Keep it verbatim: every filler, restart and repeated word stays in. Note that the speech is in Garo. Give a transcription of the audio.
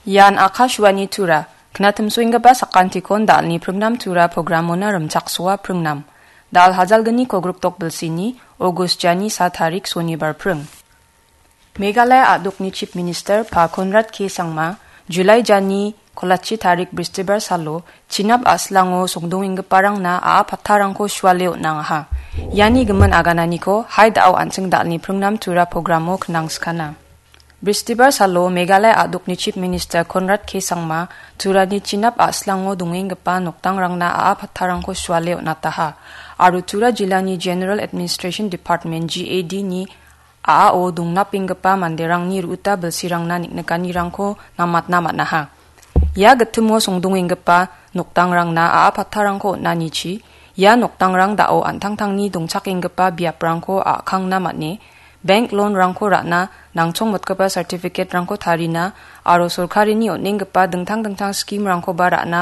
Ian Akashvani Tura, knatimsoenggipa sakantikon dalni pringnam Tura programona rimchaksoa pringnam. Dal hajalgni kogrikdok bilsini, August jani sa tarik sonibar pring. Meghalaya a·dokni Chief Minister Pa Conrad K Sangma, July jani kolachi tarik bristibar salo, Chinap a·slango songdongenggiparangna a·a pattarangko suale on·angaha. Iani gimin agananiko Haidao an·ching dalni pringnam Tura programo knangskana. Bristibar salo Meghalaya a·dokni Chief Minister Conrad K Sangma Turani Chinap a·slango dongenggipa nokdangrangna a·a pattarangko suale on·ataha. Aro Tura jilani General Administration Department G A D ni a·ao dongnapenggipa manderangni ru·uta bilsirangna niknikanirangko namatna man·aha. Ia gitimo songdongenggipa nokdangrangna a·a pattarangko on·anichi, ia nokdangrang da·o an·tangtangni dongchakenggipa biaprangko a·kangna man·e, bank loan-rangko ra·na, nangchongmotgipa certificate-rangko tarina aro sorkarini on·enggipa dingtang dingtang scheme-rangkoba ra·na